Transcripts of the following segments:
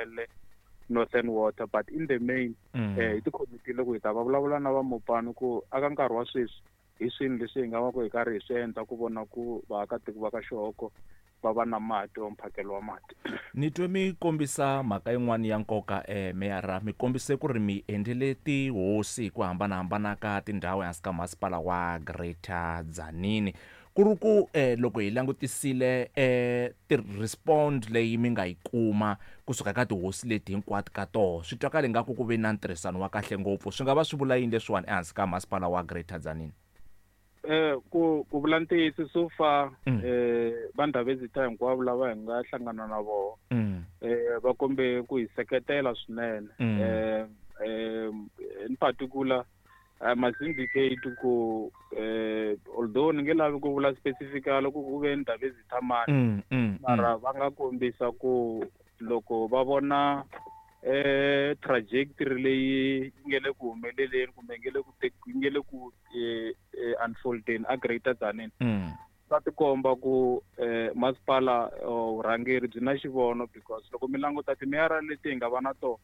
le Northern Water, but in the main hi tikhomitile ku hi ta va vulavula na va Mopani ku aka nkarhi wa sweswi hi swini leswi hi nga va ku hi karhi hi swi endla ku vona ku vaakatiko va ka Xihoko va va na mati wa mphakelo wa mati. Ni twe mi kombisa mhaka yin'wana ya nkoka, meyara. Mi kombise ku ri mi endlele tihosi hi ku hambanahambana ka tindhawu ehansi ka masipala wa Greater Tzaneen. Ku ri ku loko hi langutisile ti-respond leyi mi nga yi kuma kusuka ka tihosi leti hinkwato ka toho, swi twakala ingaku ku ve na ntirhisano wa kahle ngopfu. Swi nga va swi vula yini leswiwani ehansi ka masipala wa Greater Tzaneen? Ku vula ntiyiso, so far va Ndhavezitha hinkwavo lava hi nga hlangana na vona va kombe ku hi seketela swinene. In particular, I must indicate ku although ni nge lavi ku vula specifically ku ku ve Ndhavezitha mani, mara va nga kombisa ku loko va vona trajectory leyi yi nge le ku humeleleni kumbe nge le ku yi nge le ku unfoldeni a Greater Tzaneen, swa tikomba ku masipala vurhangeri byi na xivono, because loko mi languta timeyara leti hi nga va na tona,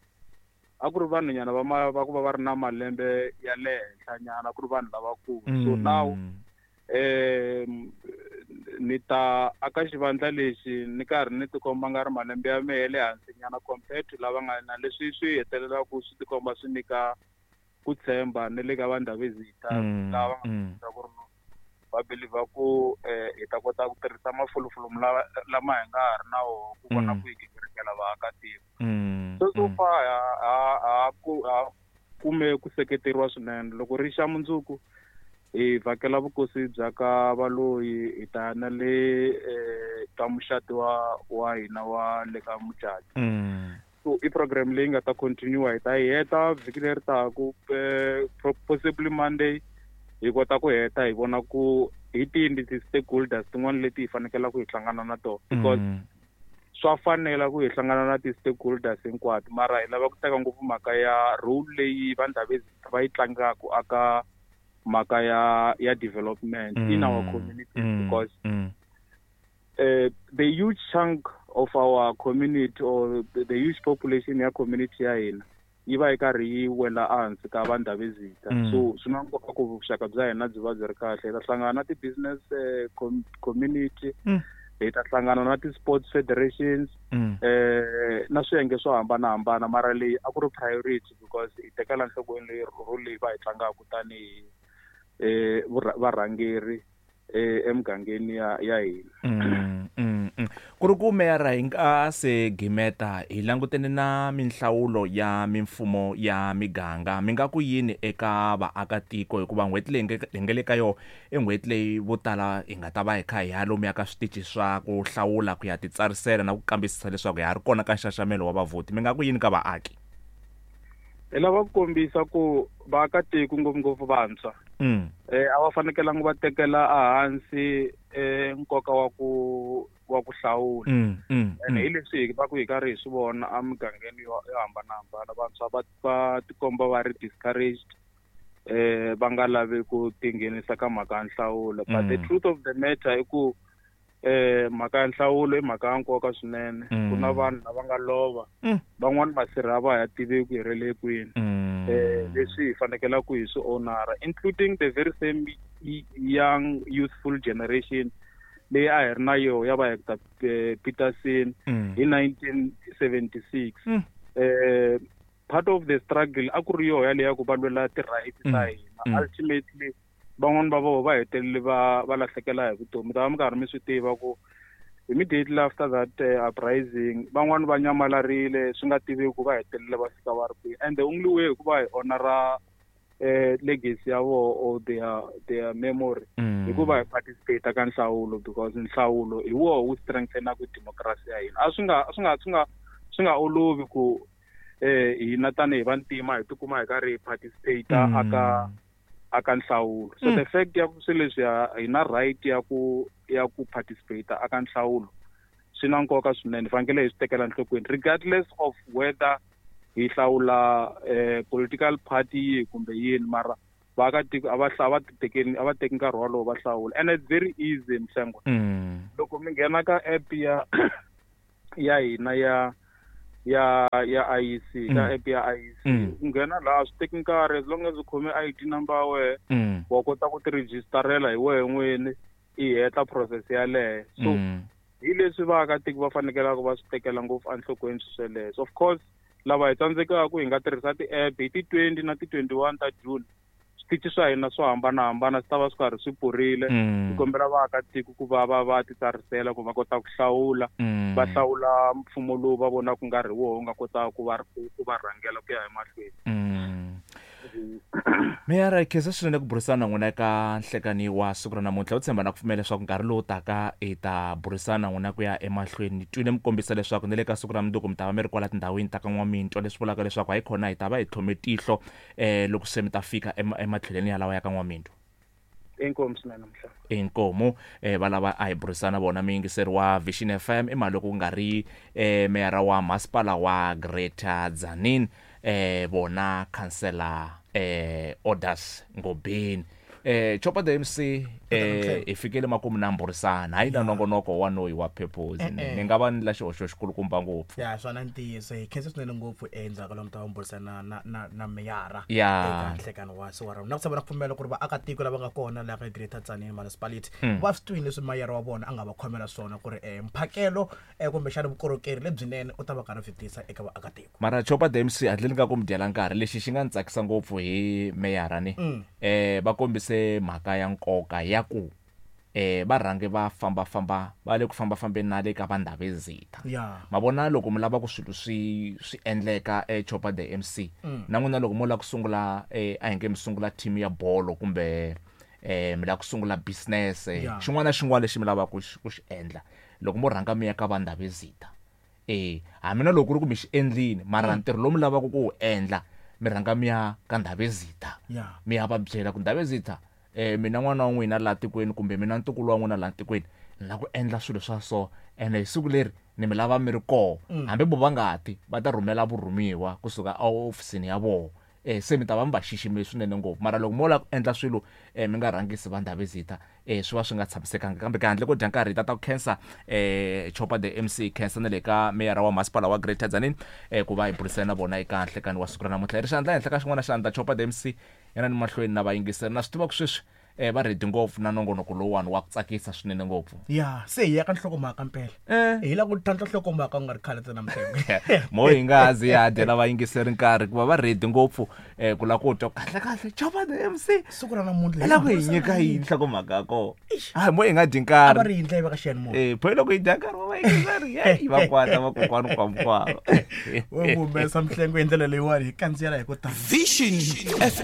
a ku ri vanhunyana va va ku va va ri na malembe ya le henhla nyana, ku ri vanhu lavakulu. So now ni ta aka xivandla lexi ni karhi ni tikomba nga ri malembe ya mehe le hansi nyana compared to lava nga na leswi, swi hetelelaka swi tikomba swi nyika ku tshemba ni le ka va Ndhavezitha lava nga ku ri va believer ku hi ta kota ku tirhisa mafulufulu lama hi nga ha ri na wona ku vona ku hi gingirikela vaakatiko. So far ha ku ha kume ku seketeriwa swinene. Loko ri xa mundzuku hi vhakela vukosi bya ka Valoyi, hi ta na le ka muxati wa hina wa le ka Mujaji. So i program leyi nga ta continue, hi ta yi heta vhiki leri taku, possibly Monday hi kota ku heta, hi vona ku hi tini ti-stakeholders tin'wana leti hi fanekelaka hi hlangana na tona, because swa fanela ku hi hlangana na ti-stakeholders hinkwato, mara hi lava ku teka ngopfu mhaka ya role leyi va Ndhavezitha va yi tlangaku aka mhaka ya development in our community, because the huge chunk of our community or the huge population ya community ya hina yi va yi karhi yi wela ehansi ka va Ndhavezitha. So swi na nkoka ku vuxaka bya hina byi va byi ri kahle. Hi ta hlangana na ti-business community, hi ta hlangana na ti-sports federations, na swiyenge swo hambanahambana, mara leyi a ku ri priority because hi tekela nhlokweni leyi role leyi va yi tlangaka tanihi varhangeri emugangeni ya hina. Ku ri ku meyara, hi nga se gimeta, hi langutene na minhlawulo ya mimfumo ya miganga. Mi nga ku yini eka vaakatiko, hikuva n'hweti leyi hi nga le ka yona i n'hweti leyi vo tala hi nga ta va hi kha hi ya lomuya ka switichi swa ku hlawula ku ya titsarisela na ku kambisisa leswaku hi ha ri kona ka nxaxamelo wa vavhoti? Mi nga ku yini ka vaaki? Hi lava ku kombisa ku vaakatiko, ngopfungopfu vantshwa, a va fanekelanga va tekela ehansi nkoka wa ku hlawula. Ene hi leswi hi va ku hi karhi hi swi vona emugangeni yo hambanahambana, vantshwa va tikomba va ri discouraged, va nga lavi ku tinghenisa ka mhaka ya nhlawulo, but the truth of the matter i ku mhaka ya nhlawulo i mhaka ya nkoka swinene. Ku na vanhu lava nga lova, van'wani masirha va ha tiveki hi ri le kwini, leswi hi fanekelaka hi swi honora, including the very same young youthful generation leyi a hi ri na yoho ya va Hector Peterson hi 1976. Part of the struggle a ku ri yoho yaleyo ya ku va lwela ti-rights ta hina. Ultimately van'wani va voho va hetelele va lahlekela hi vutomi. Ta va mi karhi mi swi tiva ku immediately after that uprising, van'wani va nyamalarile swi nga tiveki ku va hetelele va fika va ri kwihi, and the only way ku va hi honora legacy ya voho or their memory hikuva hi participate ka nhlawulo, because nhlawulo hi woho wu strengthenaka democracy ya hina. A swi nga swi nga swi nga swi nga olovi ku hina tanihi vantima hi tikuma hi karhi hi participate aka nhlawulo. So the fact ya ku swilo leswi hi na right ya ku participate aka nhlawulo swi na nkoka swinene. Hi fanekele hi swi tekela enhlokweni regardless of whether hi hlawula political party yihi kumbe yini, mara vaakatiko a va titekeni, a va teki nkarhi wolowo va hlawula. And it's very easy, Mhlengwa. Loko mi nghena ka app ya hina ya ya IEC ka app ya IEC. U nghena laha swi teki nkarhi, as long as u khome ID number ya wehe, wa kota ku ti registerela hi wehe n'wini, i heta process yaleyo. So hi leswi vaakatiko va fanekelaka va swi tekela ngopfu enhlokweni swesweleswo. Of course lava hi tsandzekaka hi nga tirhisa ti-app hi ti-20 na ti-21 ta June, switichi swa hina swo hambanahambana swi ta va swi karhi swi pfurile. Hi kombela vaakatiko ku va va va titsarisela ku va kota ku hlawula, va hlawula mfumo lowu va vonaka ku nga ri woho wu nga kotaka ku va rhangela ku ya emahlweni. Meyara, hi khensa swinene ku burisana na n'wina eka nhlekani wa siku ra namuntlha. U tshemba na ku pfumela leswaku nkarhi lowu taka hi ta burisana na n'wina ku ya emahlweni. Ni twile mi kombisa leswaku ni le ka siku ra mundzuku mi ta va mi ri kwala tindhawini ta ka N'wamitwa, leswi vulaka leswaku hayi khona hi ta va hi tlhome tihlo loko se mi ta fika ematlhelweni yalawa ya ka N'wamitwa. Inkomu swinene mhla. Inkomu va lava a hi burisana vona muyingiseri wa Vision FM i mali loko ku nga ri meyara wa masipala wa Greater Tzaneen, vona khansela Orders Ngobeni. Chopa the MC, hi fikele makumu na mburisana hayi na nongonoko wa noyi wa purpose. Ni nga va ni la xihoxo xikulukumba ngopfu. Ya swona ntiyiso, hi khensa swinene ngopfu endzhaku lomu ta va mburisana na meyara eka nhlekano wa siku ra na ku tshemba na ku pfumela ku ri vaakatiko lava nga kona laha ka Greater Tzaneen Municipality va swi twini leswi mayara wa vona a nga va khomela swona ku ri mphakelo kumbexana vukorhokeri lebyinene u ta va karhi byi tisa eka vaakatiko. Mara Chopa the MC, handleni ka ku mi dyela nkarhi, lexi xi nga ni tsakisa ngopfu hi meyara ni va kombise mhaka ya nkoka ya ku va rhange va fambafamba, va le ku fambafambeni na le ka Vandhavezitha. Ma vona loko mi lava ku swilo swi endleka Chopa the MC, na n'wina loko mo lava ku sungula a hi nge mi sungula team ya bolo kumbe mi lava ku sungula business, xin'wana na xin'wana lexi mi lavaka ku xi endla, loko mo rhanga mi ya ka Vandhavezitha, hambi na loko ku ri ku mi xi endlini, mara ntirho lowu mi lavaka ku wu endla mi rhanga mi ya ka Ndhavezitha, mi ya va byela ku Ndhavezitha, mina n'wana wa n'wina laha tikweni kumbe mina ntukulu wa n'wina laha tikweni ni lava ku endla swilo swa so, ene hi siku leri ni mi lava mi ri koho. Hambi vo va nga ti, va ta rhumela vurhumiwa kusuka ehofisini ya vona. Se mi ta va mi va xiximile swinene ngopfu. Mara loko mo lava ku endla swilo mi nga rhangisi va Ndhavezitha, swi va swi nga tshamisekanga. Kambe ka handle ko dya nkarhi hi ta ta ku khensa Chopa the MC, khensa na le ka meyara wa masipala wa Greater Tzaneen ku va hi burisana na vona eka nhlekani wa siku ra namuntlha. Hi ri xandla henhla ka xin'wana xandla, Chopa the MC yana ni mahlweni na vayingiseri. Na swi tiva ku sweswi va ready ngopfu na nongonoko lowuwani wa ku tsakisa swinene ngopfu. Ya se hi ya ka nhlokomhaka mpela. Hi lava ku tlhantlha nhlokomhaka ku nga ri khale ntsena Mhlengwe. Mo hi nga ha zi ya dyela vayingiseri nkarhi ku va va ready ngopfu ku lava ku twa kahle kahle Chopa the MC siku ra namuntlha hi lava ku hi nyika yini nhlokomhaka ya kona. Hayi mo hi nga dyi nkarhi. A va ri yindla yi va ka xiyanimoya. Pho loko hi dya nkarhi wa vayingiseri, yeyi va kwata vakokwani kwamkwava. Wo humesa Mhlengwe hi ndlela leyiwani hi kandziyela hi ku tala. Vision